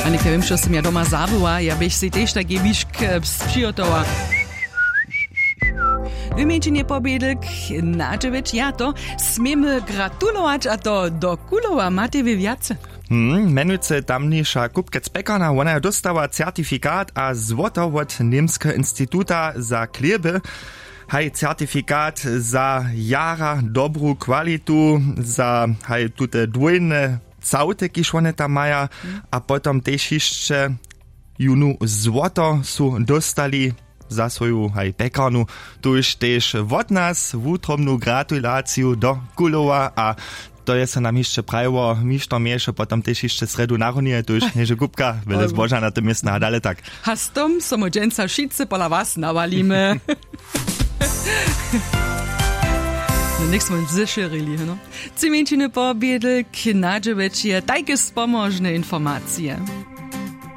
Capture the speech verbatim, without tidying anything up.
A něka wěm što sym ja doma zabyła, ja běch sej tež taki mišk, eh, přihotowała. W mjeńšinje pobědlk na dźewjeć ja to směmy gratulować, a to do kulowa matej wě wjace. Hmm, mjenujcy tamniša kupkec pekarna, wona jo dóstała certifikat a złoto wot němskeho instituta za chlěby. Haj certifikat za jara dobru kwalitu, za haj tute dwójne całty kiž wone tam maja. A potom tež hišće junu złoto su dóstali za swoju haj pekarnu. Tuž tež wot nas wutrobnu gratulaciju do kulowa a to je so nam hišće prajiło mišto měješe potom tež hišće srjedu narunije tuž něže kupka wjele zboža na tym městna a dale tak. A z tom so my dźensa wšitcy pola was nawalimy. No něk smo zešěrili heno. Tři mjeńšiny pobědlk na dźewjeć je tajke spomožne informacije.